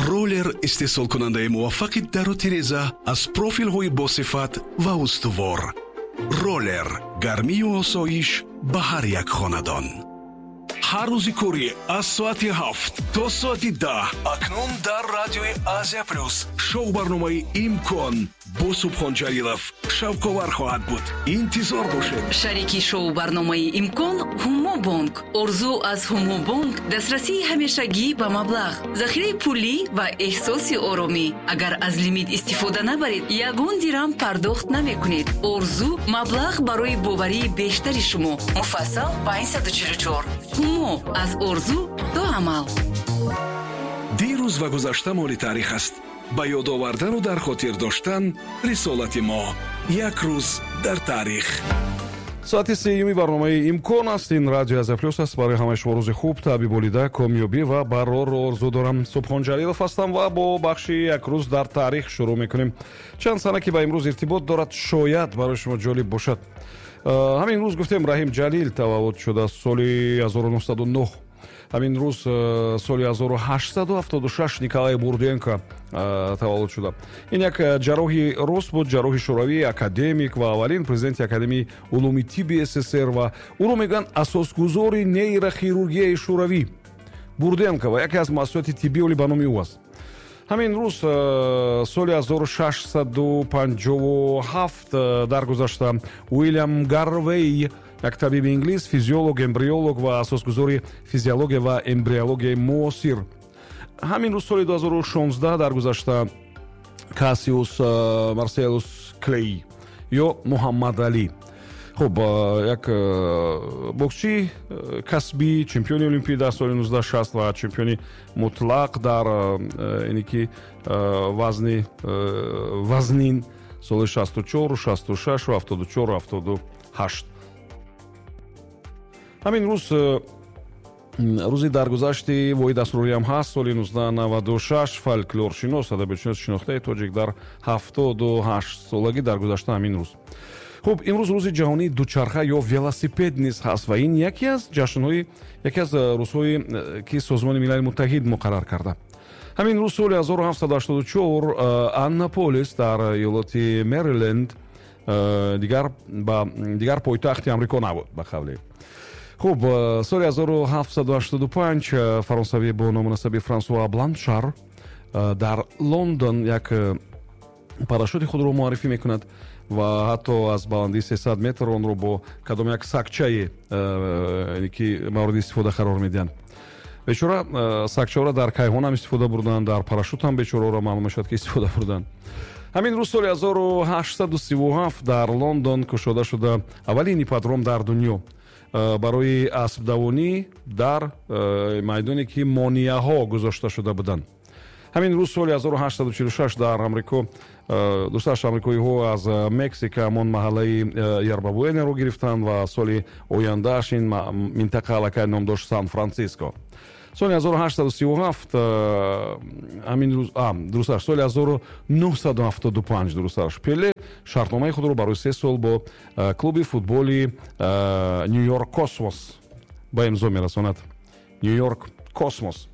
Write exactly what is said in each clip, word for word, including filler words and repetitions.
Роллер истеҳсолкунандаи муваффақи дару тиреза аз профилҳои босифат ва устувор. Роллер гармию осоиш ба ҳар як хонадон. Ҳар рӯзи корӣ аз соати ҳафт то соати даҳ акнун дар радиои Азия Плюс шоу барномаи «Имкон» бо Субҳон Ҷалилов шавқовар хоҳад буд. Интизор бошед. Шарики шоу барномаи «Имкон» Ҳумобонк. Орзу аз Ҳумобонк дастрасии ҳамешагӣ ба маблағ, захираи пулӣ ва эҳсоси оромӣ. Агар аз лимит истифода набаред, ягон дирам пардохт намекунед. Орзу маблағ барои боварии бештари шумо. Муфассал панҷсаду чилу чор. Ҳумо аз орзу то амал. Дирӯз ва гузашта моли таърих аст. Ба ёд овардану дар хотир доштан рисолати мо. Як рӯз дар таърих. Соати сеюми барномаи «Имкон» аст. Ин радио Азия Плюс аст. Барои ҳамаи шумо рӯзи хуб, таъби болида, комёбӣ ва барорро орзу дорам. Субҳон Ҷалилов ҳастам ва бо бахши «Як рӯз дар таърих» шурӯъ мекунем. Чанд сана, ки ба имрӯз иртибот дорад, шояд барои шумо ҷолиб бошад. Ҳамин рӯз гуфтем, Раҳим Ҷалил таваллуд шуда соли ҳазору нӯҳсаду нӯҳ. Ҳамин рӯз, э, соли ҳазору ҳаштсаду ҳафтоду шаш, Николай Бурденко э, таваллуд шуда. Ин як э, ҷарроҳи рус буд, ҷарроҳи шӯравӣ, академик ва аввалин президенти Академияи улуми тибби С С С Р ва ӯро мегӯянд асосгузори нейрохирургияи шӯравӣ. Бурденко ва яке аз муассисоти тиббӣ оли ба номи ӯ аст. Ҳамин рӯз, соли ҳазору шашсаду панҷоҳу ҳафт, даргузашта Уилям Гарвей, як табиби инглис, физиолог, эмбриолог ва асосгузори физиология ва эмбриологияи муосир. Ҳамин рӯз, соли ду ҳазору шонздаҳ, даргузашта Кассиус Марселус Клей ё Муҳаммад Алӣ. Хуб, як боксчии касбӣ, чемпиони олимпӣ дар соли ҳазору нӯҳсаду шаст ва чемпиони мутлақ дар ине ки вазни вазнин соли шасту чор, шасту шаш, ҳафтоду чор, ҳафтоду ҳашт. Ҳамин рӯз рӯзи даргузашти Воҳид Асрориам ҳаст. Соли ҳазору нӯҳсаду наваду шаш фольклоршинос, адабиётшиноси шинохтаи тоҷик дар ҳафтоду ҳашт солагӣ даргузашта ҳамин рӯз. Хуб, имрӯз рӯзи ҷаҳонии дучарха ё велосипед низ ҳаст ва ин яке аз ҷашнҳои, яке аз рӯзҳое, ки Созмони Милали Муттаҳид муқаррар карда. Ҳамин рӯз, соли ҳазору ҳафтсаду ҳаштоду чор, Аннаполис дар иёлоти Мериленд дигар ба дигар пойтахти Амрико набуд, ба қавле. Хуб, соли ҳазору ҳафтсаду ҳаштоду панҷ фаронсавӣ бо ному насаби Франсуа Бланшар дар Лондон як парашюти худро муаррифӣ мекунад ва ҳатто аз баландии сесад метр онро бо кадом як сагчае ки мавриди истифода қарор медиҳанд. Бечора сагчаро дар кайҳон ҳам истифода бурданд, дар парашют ҳам бечораро маълум мешавад, ки истифода бурданд. Ҳамин рӯз, соли ҳазору ҳаштсаду сиву ҳафт, дар Лондон кушода шуда аввалин ипподром дар дунё барои аспдавонӣ дар майдоне, ки монеаҳо гузошта шуда буданд. Ҳамин рӯз, соли ҳазору ҳаштсаду чилу шаш, дар Амрико дусташ амрикоиҳо аз Мексика ҳамон маҳаллаи Ерба-Буэнаро гирифтанд ва соли ояндааш ин минтақа аллакай ном дошт Сан Франциско. Соли ҳазору ҳаштсаду сиву ҳафт ҳамин рӯз, дурусташ соли ҳазору нӯҳсаду ҳафтоду панҷ, дурусташ, Пеле шартномаи худро барои се сол бо клуби футболи Нью-Йорк Космос ба имзо мерасонад. Нью-Йорк Космос.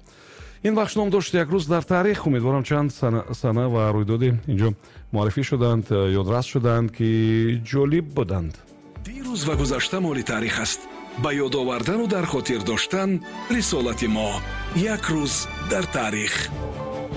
Ин бахш ном дошт «Як рӯз дар таърих». Умедворам, чанд сана ва рӯйдоде инҷо муаррифӣ шуданд, ёдрас шуданд, ки ҷолиб буданд. Дирӯз ва гузашта моли таърих аст. Ба ёд овардану дар хотир доштан рисолати мо. Як рӯз дар таърих.